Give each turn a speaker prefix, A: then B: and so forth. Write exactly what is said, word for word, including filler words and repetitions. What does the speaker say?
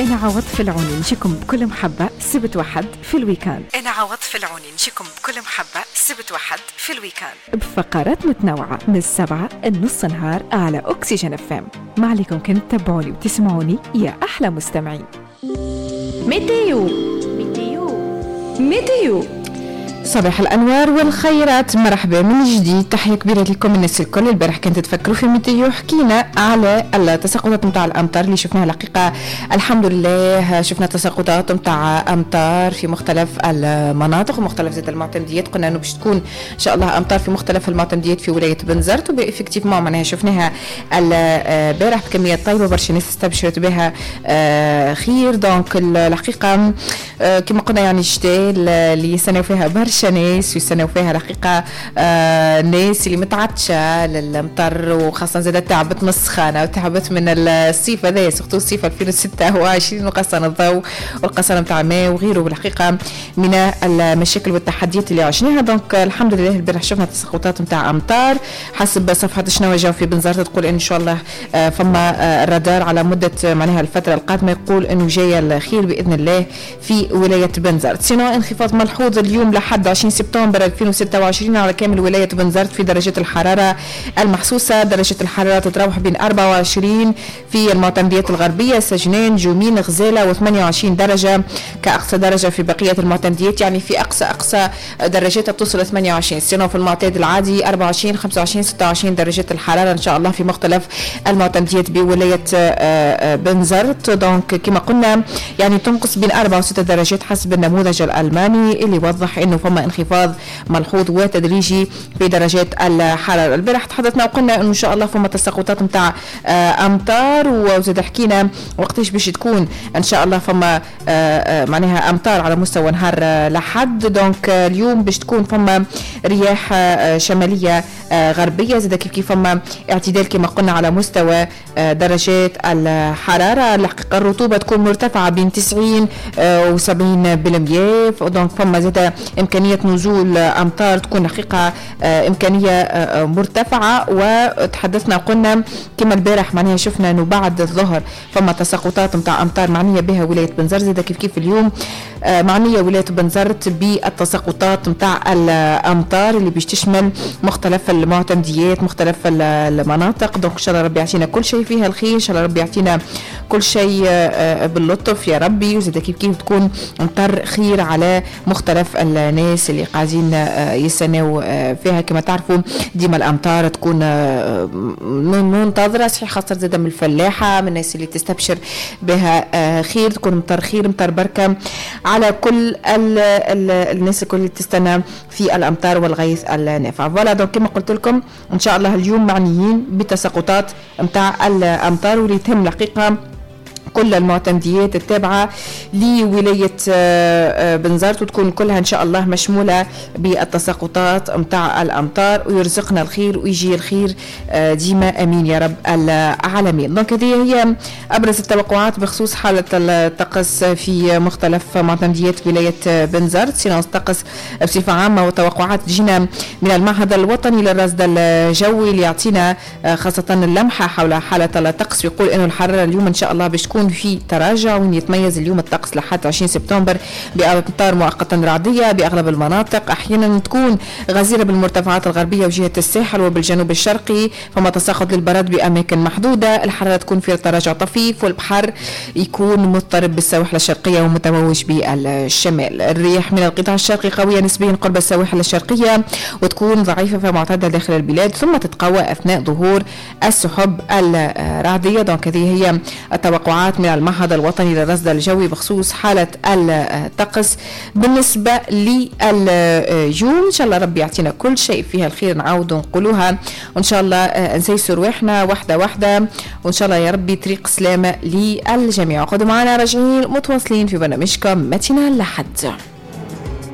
A: أنا عوض في العوني نجيكم بكل محبة سبت وحد في ال week-end. أنا عوض في العوني نجيكم بكل محبة سبت وحد في ال week-end بفقرات متنوعة من السبعة النص نهار على أكسجين اف ام. ما عليكم كان تتابعوني وتسمعوني يا أحلى مستمعين.
B: météo météo météo،
C: صباح الانوار والخيرات، مرحبا من جديد، تحية كبيرة لكم الناس الكل. البارح كنت تفكروا في météo، حكينا على التساقطات نتاع الامطار اللي شفناها. الحقيقة الحمد لله شفنا تساقطات نتاع امطار في مختلف المناطق ومختلف زاد المعتمديات. قلنا انه باش تكون ان شاء الله امطار في مختلف المعتمديات في ولاية بنزرت، و effectivement معناها شفناها البارح بكميات طيبة، برشا ناس استبشرت بها آه، خير. donc الحقيقة آه، كما قلنا يعني الشتاء اللي يستناو فيها برشا ناس ويستناو فيها الحقيقة آه الناس اللي متعطشه للمطر، وخاصة زاد تعبت من السخانه وتعبت من الصيف هذا، surtout الصيف ألفين وستة وعشرين، وقصان الضوء والقصان نتاع الماء وغيره بالحقيقة من المشاكل والتحديات اللي عشناها. donc الحمد لله البارح شفنا تساقطات نتاع امطار. حسب صفحة شنو جاو في بنزرت تقول ان شاء الله آه فما آه الرادار على مده معناها الفترة القادمة يقول انه جاية الخير باذن الله في ولاية بنزرت. sinon انخفاض ملحوظ اليوم لحد عشرين سبتمبر ألفين وستة وعشرين على كامل ولاية بنزرت في درجات الحرارة المحسوسة. درجة الحرارة تتراوح بين أربعة وعشرين في المعتمديات الغربية، سجنان، جومين، غزالة، وثمانية وعشرين درجة كأقصى درجة في بقية المعتمديات، يعني في أقصى أقصى درجاتها بتوصل ثمانية وعشرين. sinon في المعتاد العادي أربعة وعشرين، خمسة وعشرين، ستة وعشرين درجة الحرارة إن شاء الله في مختلف المعتمديات بولاية بنزرت. donc كما قلنا يعني تنقص بين أربعة وستة درجات حسب النموذج الألماني اللي وضح إنه فما انخفاض ملحوظ وتدريجي في درجات الحرارة. البارح تحدثنا وقلنا انه ان شاء الله فما تساقطات نتاع امطار، وزاد حكينا وقتاش باش تكون ان شاء الله فما معناها امطار على مستوى نهار لحد. donc اليوم باش تكون فما رياح شمالية غربية، زاد كيف كيف فما اعتدال كما قلنا على مستوى درجات الحرارة. الحقيقة الرطوبة تكون مرتفعة بين تسعين وسبعين بالمية، donc فما زاد إمكانية نزول أمطار تكون حقيقة إمكانية مرتفعة. وتحدثنا قلنا كما البارح معناها شفنا أنه بعد الظهر فما تساقطات متاع أمطار معنية بها ولاية بنزرت، زاد كيف كيف اليوم معنية ولاية بنزرت بالتساقطات متاع الأمطار اللي باش تشمل مختلف المعتمديات مختلف المناطق. donc إن شاء الله ربي يعطينا كل شيء فيها الخير، إن شاء الله ربي يعطينا كل شيء باللطف يا ربي، وزاد كيف كيف تكون أمطار خير على مختلف الناس اللي قاعدين يستناو فيها. كما تعرفوا ديما الأمطار تكون منتظرة، صحيح خاصة زاد من الفلاحة، من الناس اللي تستبشر بها خير، تكون مطر خير مطر بركة على كل ال ال الناس الكل اللي تستنى في الأمطار والغيث النافع. voilà donc كما قلت لكم إن شاء الله اليوم معنيين بتساقطات متاع الأمطار واللي تهم الحقيقة كل المعتمديات التابعة لولاية بنزرت، وتكون كلها إن شاء الله مشمولة بالتساقطات متاع الأمطار، ويرزقنا الخير ويجي الخير ديما أمين يا رب العالمين. donc هذه هي أبرز التوقعات بخصوص حالة الطقس في مختلف معتمديات ولاية بنزرت. sinon الطقس بصفة عامة وتوقعات تجينا من المعهد الوطني للرصد الجوي اللي يعطينا خاصة اللمحة حول حالة الطقس، ويقول إنه الحرارة اليوم إن شاء الله باش تكون في تراجع، وين يتميز اليوم الطقس لحد عشرين سبتمبر بأمطار مؤقتا رعدية بأغلب المناطق، أحيانا تكون غزيرة بالمرتفعات الغربية وجهة الساحل وبالجنوب الشرقي، فما تساقط للبرد بأماكن محدودة، الحرارة تكون في تراجع طفيف، والبحر يكون مضطرب بالسواحل الشرقية ومتموج بالشمال. الرياح من القطاع الشرقي قوية نسبيا قرب السواحل الشرقية وتكون ضعيفة فمعتدة داخل البلاد، ثم تتقوى أثناء ظهور السحب الرعدية. donc هذه هي التوقعات من المعهد الوطني للرصد الجوي بخصوص حالة الطقس بالنسبة لليوم. إن شاء الله ربي يعطينا كل شيء فيها الخير، نعاود نقولوها، وإن شاء الله نسيسر روحنا واحدة واحدة، وإن شاء الله يا ربي طريق سلامة للجميع. قعدوا معنا راجعين متواصلين في برنامجكم matinale لحد.